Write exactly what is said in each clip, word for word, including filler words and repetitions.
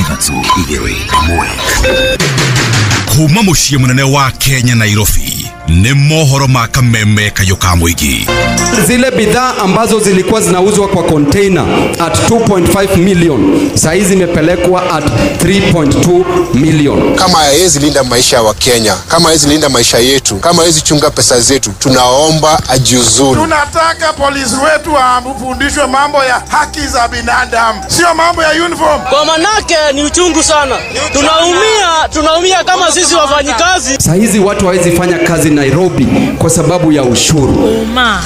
Ithatũ, igĩrĩ, ĩmwe. Kuma mũciĩ mũnene wa Kenya, Nairobi, nĩ mohoro ma kameme kayũ ka mũingĩ. Zile bidhaa ambazo zilikuwa zinauzwa kwa container at two point five million, saa hizi zimepelekwa at three point two million. Kama hawezi linda maisha ya Wakenya, kama hawezi linda maisha yetu, kama hawezi chunga pesa zetu, tunaomba ajiuzulu. Tunataka polisi wetu wafundishwe mambo ya haki za binadamu, sio mambo ya uniform. Kwa manake ni uchungu sana, tunaumia, tunaumia kama sisi wafanyikazi. Saa hizi watu hawezi fanya kazi Nairobi kwa sababu ya ushuru. Ũma,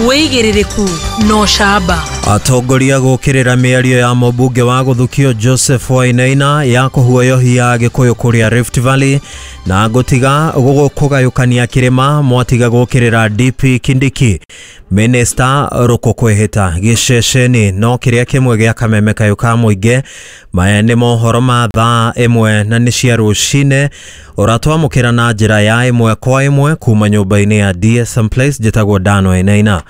wĩigĩrĩrĩku na ũcamba. Atongoria gũkĩrĩra mĩario ya mũmbunge wa gũthukio Joseph Wainaina ya kũhuoyohia Gĩkũyũ kũrĩa Rift Valley na gũtiga kũgayũkania kĩrĩma mwatiga gũkĩrĩra D P Kindiki. Minista Rũkũ kwĩhĩta gĩceceni no kĩrĩa kĩmwe gĩa kameme kayũ ka mũingĩ. Maya nĩ mohoro ma thaa ĩmwe na nĩ cia rũcinĩ, ũratwamũkĩra na njĩra ya ĩmwe kwa ĩmwe kuma nyũmba-inĩ ya D S M Place. Njĩtagwo Dan Wainaina.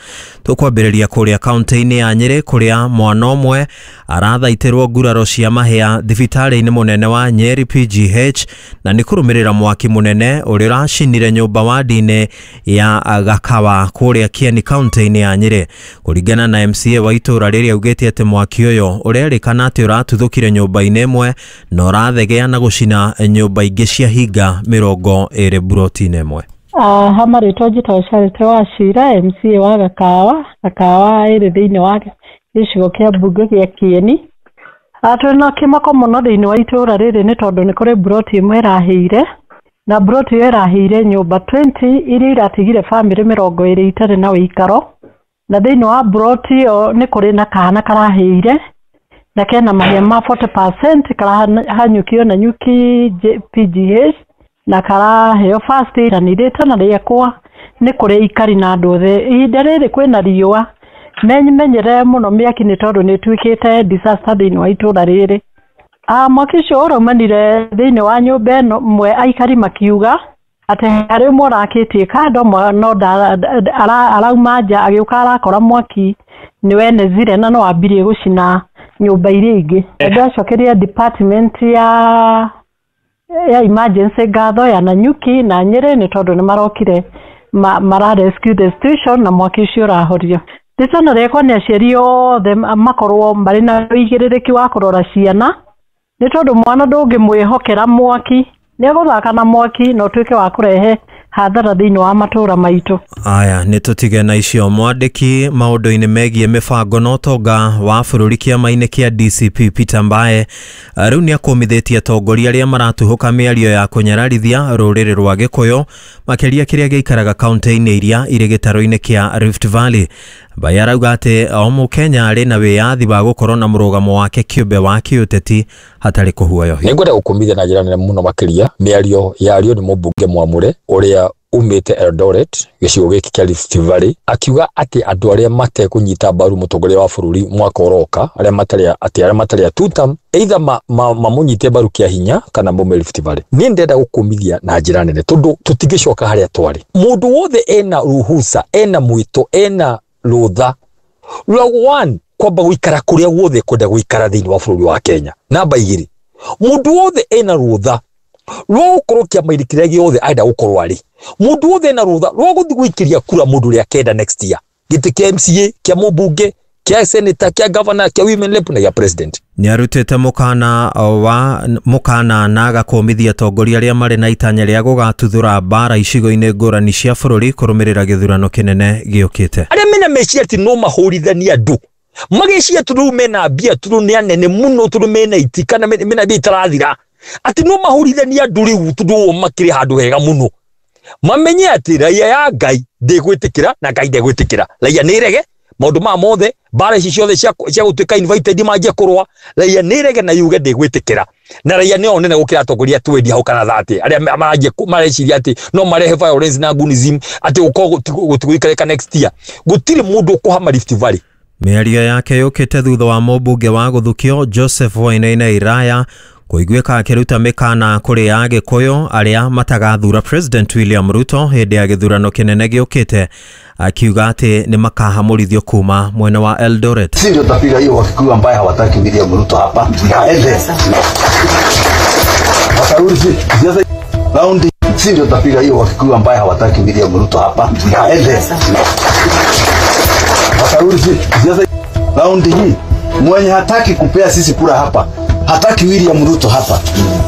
Tũkwambĩrĩria kũrĩa kaunti-inĩ ya Nyĩrĩ, kũrĩa mwana ũmwe arathaitĩrwo nguraro cia mahĩa thibitarĩ-inĩ mũnene wa Nyeri P G H, na nĩ kũrũmĩrĩra mwaki mũnene ũrĩa ũracinire nyũmba wadi-inĩ ya Gakawa kũrĩa Kieni, kaunti-inĩ ya Nyĩrĩ. Kũringana na M C A wa itũũra rĩrĩa, augĩte atĩ mwaki ũyũ ũrerĩkana atĩ ũratuthũkire nyũmba-inĩ ĩmwe na ũrathegea na gũcina nyũmba ingĩ cia hinga mĩrongo ĩrĩ buroti-inĩ ĩmwe. Ha marĩtwa njĩtagwo Charity Wachira, M C A wa Gakawa. Gakawa ĩrĩ thĩinĩ wa gĩcigo kĩa mbunge gĩa Kieni. Twĩna kĩmako mũno thĩinĩ wa itũũra rĩrĩ, nĩ tondũ nĩ kũrĩ mburoti ĩmwe ĩrahĩire, na mburoti ĩyo ĩrahĩire nyũmba mĩrongo ĩĩrĩ iria iratigire bamĩrĩ mĩrongo ĩrĩ itarĩ na ũikaro. Na thĩinĩ wa mburoti ĩyo nĩ kũrĩ na kana karahĩire na kena mahĩa ma mĩrongo ĩna harĩ igana, karahanyũkio na nyuki P G H na karaheo first aid. Na nĩ rĩtana rĩakwa nĩ kũrĩ aikari na andũ othe, ihinda rĩrĩ kwĩna riũa, memenyerere mũno mĩaki, nĩ tondũ nĩ ĩtuĩkĩte disaster thĩinĩ wa itũũra rĩrĩ. Ah, mwaki ũcio ũraumanire thĩinĩ wa nyũmba ĩno ĩmwe, aikari makiuga atĩ harĩ ũmwe ũrakĩtie kando no arauma nja, agĩũka arakora mwaki nĩ wenezire na no wambirie gũcina nyũmba iria ingĩ. Ndacokeria department ya ya emergency ngatho ya Nanyuki na Nyĩrĩ, nĩ tondũ nĩ marokire ma, mara rescue the situation na mwaki ũcio ũrahorio. Rĩtana rĩakwa nĩ aciari othe makorwo marĩ na ũigĩrĩrĩki wa kũrora ciana, nĩ tondũ mwana ndũngĩmwĩhokera mwaki, nĩ egũthaka na mwaki na ũtuĩke wa kũrehe hathara thĩinĩ wa matũũra maitũ. Aya, nĩ tũtige na icio. Mwandĩki maũndũ-inĩ megiĩ mĩbango na ũtonga wa bũrũri kĩama-inĩ kĩa D C P Peter Mbae rĩu nĩ akũmithĩtie atongoria arĩa maratuhũka mĩario ya kũnyararithia rũrĩrĩ rwa Gĩkũyũ, makĩria kĩrĩa gĩikaraga kaunti-inĩ iria irĩ gĩtarũ-inĩ kĩa Rift Valley. Mbae arauga atĩ o mũkenya arĩ na wĩyathi wa gũkorwo na mũrũgamo wake kĩũmbe wa kĩũteti hatarĩ kũhuoyohio. Nĩ ngwenda gũkũmithia na njĩra nene mũno makĩria mĩario yario nĩ mũmbunge mwamũre ũrĩa umĩte Eldoret, gĩcigo gĩkĩ kĩa Rift Valley, akiuga atĩ andũ arĩa matekũnyita mbaru mũtongoria wa bũrũri mwaka ũroka, arĩa matarĩ atĩ arĩa matarĩ a two term, either ma, ma, mamũnyite mbaru kĩa hinya kana maume Rift Valley. Niĩ ndĩrenda gũkũmithia na njĩra nene, tondũ tũtingĩcoka harĩa twarĩ. Mũndũ wothe ena ruhusa, ena mwĩto, ena rũtha rwa one kwamba gũikara kũrĩa guothe kwenda gũikara thĩinĩ wa bũrũri wa Kenya. Namba igĩrĩ, mũndũ wothe ena rũtha rwa gũkorwo kĩama-inĩ kĩrĩa gĩothe arenda gũkorwo arĩ. Mũndũ wothe ena rũtha rwa gũthiĩ gũikĩria kura mũndũ ũrĩa akenda next year, gĩtĩ kĩa M C A, kĩa mũmbunge, kĩa senator, kĩa governor, kĩa women rep na gĩa president. Nĩ arutĩte mũkana wa mũkana na agakũmithia atongoria arĩa marĩ na itanya rĩa gũgatuthũra mbara icigo-inĩ ngũrani cia bũrũri kũrũmĩrĩra gĩthurano kĩnene gĩũkĩte. Arĩa mena meciria atĩ no mahũrithanie andũ, mageciria tondũ rĩu mena mbia, tondũ nĩ anene mũno, tondũ mena iti kana mena mbia itarathira, atĩ no mahũrithanie andũ rĩu tondũ o makĩrĩ handũ hega mũno, mamenye atĩ raia ya Ngai ndĩgwĩtĩkĩra na Ngai ndegwĩtĩkĩra. Raia nĩ rege maũndũ maya mothe, mbara ici ciothe cia cia gũtuĩka invited manjie kũrũa. Raia nĩ rege na yuge ndĩgwĩtĩkĩra, na raia nĩo nene gũkĩra atongoria twendi hau kana thate arĩa maranjia mareciria atĩ no marehe violence na gunism, atĩ gũkorwo gũtigũikarĩka next year. Gũtirĩ mũndũ ũkũhama Rift Valley. Mĩario yake yũkĩte thutha wa mũmbunge wa gũthukio Joseph Wainaina Iraya Kũiguĩka akĩruta mĩkana kũrĩ Agĩkũyũ arĩa matagathura President William Ruto hĩndĩ ya gĩthurano kĩnene gĩũkĩte, akiuga atĩ nĩ makahamũrithio kuma mwena wa Eldoret. Si ndio tapiga hiyo Wakikuyu ambaye hawataki William Ruto hapa aende watarudi siasa raundi. Si ndio tapiga hiyo Wakikuyu ambaye hawataki William Ruto hapa aende watarudi siasa raundi hii. Mwenye hataki kupea sisi kura hapa, hataki William Ruto hapa,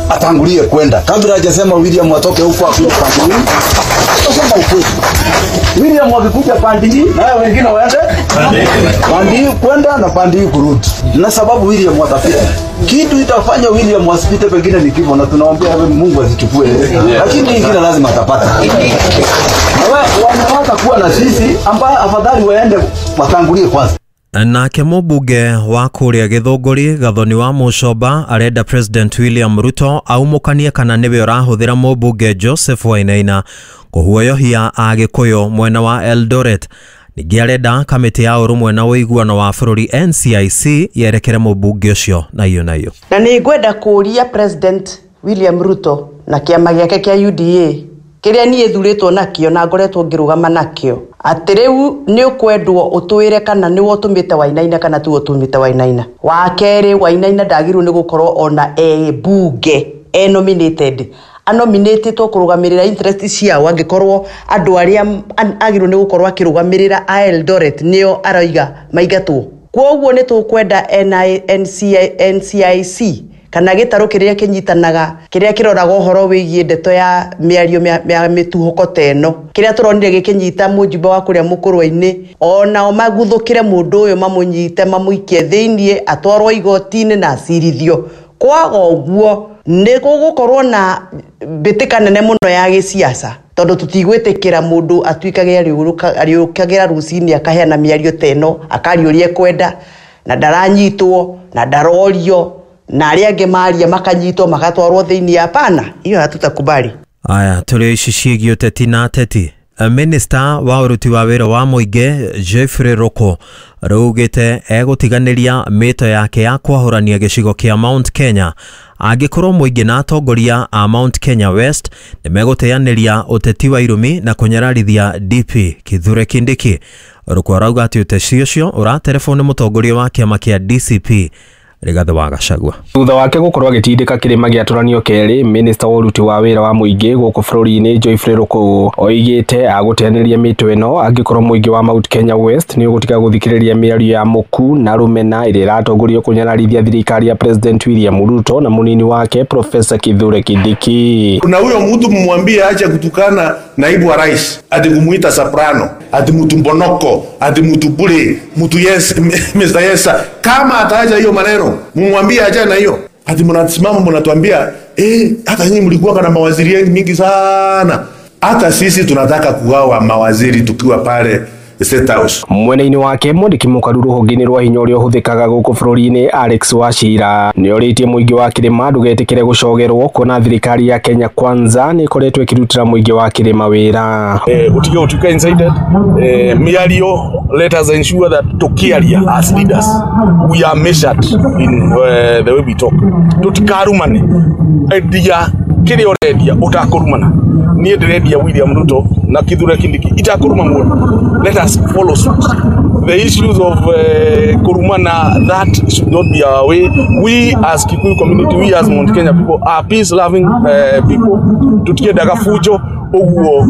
atangulie kwenda. Kabla hajasema William atoke huko akuje pande hii, atasema ukweli. William akikuja pande hii, na wengine waende pande hii kwenda na pande hii kurudi. Na sababu William atapita. Kitu itafanya William asipite pengine ni kifo, na tunaombea Mungu asichukue. Lakini ingine lazima atapata. Na wanataka kuwa na sisi ambaye afadhali waende watangulie kwanza. Nake mũmbunge wa kũrĩa Gĩthũngũri Gathoni wa Mũcomba arenda President William Ruto aumũkanie kana nĩwe ũrahũthĩra mũmbunge Joseph Wainaina kũhuoyohia Agĩkũyũ mwena wa Eldoret. Ningĩ arenda kamĩtĩ ya ũrũmwe na ũiguano wa bũrũri N C I C yerekere mũmbunge ũcio na iyo na iyo. Na nĩ ngwenda kũũria President William Ruto na kĩama gĩake kĩa U D A kĩrĩa niĩ thurĩtwo nakĩo na ngoretwo ngĩrũgama nakĩo atĩ rĩu nĩ ũkwendwo ũtwĩre kana nĩwe ũtũmĩte Wainaina kana tiwe ũtũmĩte Wainaina. Wa kerĩ, Wainaina ndagĩrĩirwo nĩ gũkorwo ona e bunge e nominated anominatetwo kũrũgamĩrĩra interest ciao, angĩkorwo andũ arĩa agĩrĩirwo nĩ gũkorwo akĩrũgamĩrĩra a Eldoret nĩo aroiga maingatwo. Kwoguo nĩ tũkwenda N C I C kana gĩtarũ kĩrĩa kĩnyitanaga kĩrĩa kĩroraga ũhoro wĩgiĩ ndeto ya mĩario ya mĩtuhũko ta ĩno kĩrĩa tũronire gĩkĩnyita mũjumbe wa kũrĩa mũkũrwe-inĩ, onao maguthũkĩre mũndũ ũyũ mamũnyite mamũikie thĩiniĩ atwarwo igoti-inĩ na acirithio. Kwaga ũguo nĩ gũgũkorwo na mbĩtĩka nene mũno ya gĩciaca tondũ tũtigwĩtĩkĩra mũndũ atuĩkage arĩũkagĩra rũcinĩ akaheana mĩario ta ĩno akaria ũrĩa ekwenda na ndaranyitwo na ndarorio na arĩa angĩ maria makanyitwo magatwarwo thĩinĩ. Hapana, hiyo hatutakubali. Aya, tũrĩ ici ciĩgiĩ ũteti na ateti. Minister wa ũruti wa wĩra wa mũingĩ Jeffrey Roko raugĩte egũtiganĩria mĩto yake ya kwahũrania gĩcigo kĩa Mount Kenya angĩkorwo mũingĩ na atongoria a Mount Kenya West nĩmegũteanĩria ũteti wa irumi na kũnyararithia D P Kithure Kindiki. Roko arauga atĩ ũteti ũcio ũraterebwo nĩ mũtongoria wa kĩama kĩa D C P Rigathi wa Gachagua. Thutha wake gũkorwo agĩtindĩka kĩrĩma gĩatũranio kerĩ, minista wa ũruti wa wĩra wa mũingĩ gũkũ bũrũri-inĩ Geoffrey Ruku oigĩte agũteanĩria mĩtũ ĩno angĩkorwo mũingĩ wa Mount Kenya West nĩ ũgũtiga gũthikĩrĩria mĩario ya mũku na rũmena ĩrĩa ĩratongorio kũnyararithia thirikari ya President William Ruto na mũnini wake Professor Kithure Kindiki. Na huyo mtu mumwambie aache kutukana naibu wa rais, ati kumuita soprano, ati mtu mbonoko, ati mtu bure, mtu yes, Mister Yesa. Kama ataacha hiyo maneno, mumwambie acha na hiyo. Ati mnasimama mnatuambia, eh, hata nyinyi mlikuwa na mawaziri mingi sana. Hata sisi tunataka kugawa mawaziri tukiwa pale State House. Mwena-inĩ wake mwandĩki mũkaru rũhonge-inĩ rwa hinya ũrĩa ũhũthĩkaga gũkũ bũrũri-inĩ Alex Wachira nĩorĩtie mũingĩ wa kĩrĩma ndũgetĩkĩre gũcogerwo kuona thirikari ya Kenya Kwanza nĩ ĩkoretwo ĩkĩrutĩra mũingĩ wa kĩrĩma wĩra. Eh, utige utuke incited eh, mĩario, let us ensure that tukiaria as leaders we are measured in uh, the way we talk. Tutikarumane, endia kĩrĩa ũrendia ũtakũrumana. Niĩ ndĩrendia William Ruto na Kithure Kindiki itakuruma mũndũ. Let us follow suit. The issues of uh, kurumana, that should not be our way. We as Kikuyu community, we as Mount Kenya people are peace loving uh, people. Tutiendaga fujo uguo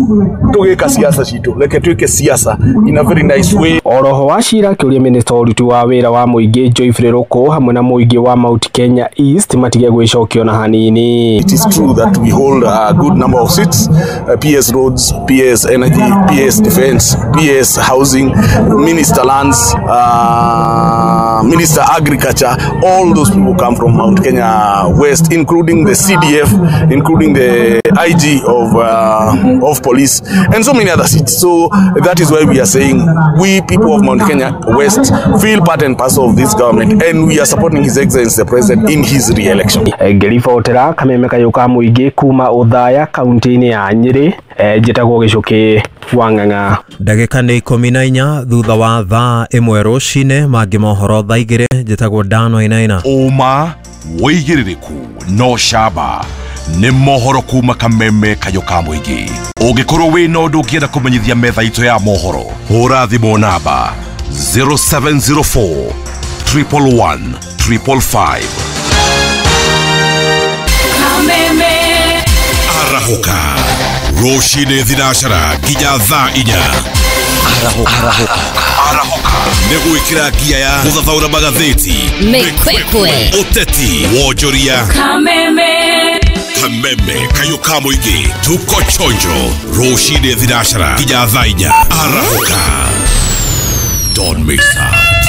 tugika siasa citu, reke twike siasa in a very nice way. Oroho Wachira akĩũria minista wa ũruti wa wĩra wa mũingĩ Geoffrey Ruku hamwe na mũingĩ wa Mount Kenya East matige gwĩcokia ona hanini. It is true that we hold a good number of seats, uh, P S Roads, P S Energy, P S Defense, P S Housing, Minister Lands, uh, Minister Agriculture. All those people come from Mount Kenya West, including the C D F, including the I G of uh, of police, and so many other seats. So that is why we are saying we people of Mount Kenya West feel part and parcel of this government, and we are supporting His Excellency the President in his re-election. Ngĩribotera kameme kayũ ka mũingĩ kuma Othaya kaunti-inĩ ya Nyĩrĩ, njĩtagwo Gĩcũkĩ. Wang'ang'a. Ndagĩka nĩ ikũmi na inya thutha wa thaa ĩmwe rũcinĩ, mangĩ mohoro thaa igĩrĩ. Njĩtagwo Dan Wainaina. Ũma wĩigĩrĩrĩku no camba nĩ mohoro kuma kameme kayũ ka mũingĩ. Ũngĩkorwo wĩna ũndũ ũngĩenda kũmenyithia metha itũ ya mohoro, hũra thimũ namba zero seven zero four triple one triple five. Kameme. Arahũka rũcinĩ thinacara nginya thaa inya. Arahũka. Arahũka nĩ gwĩkĩra ngia ya gũthathaũra magathĩti, mĩkwekwe, ũteti, wonjoria. Kameme. Kameme kayũ ka mũingĩ, tuko chonjo rũcinĩ thinacara nginya thaa inya. Arahũka, don't miss out.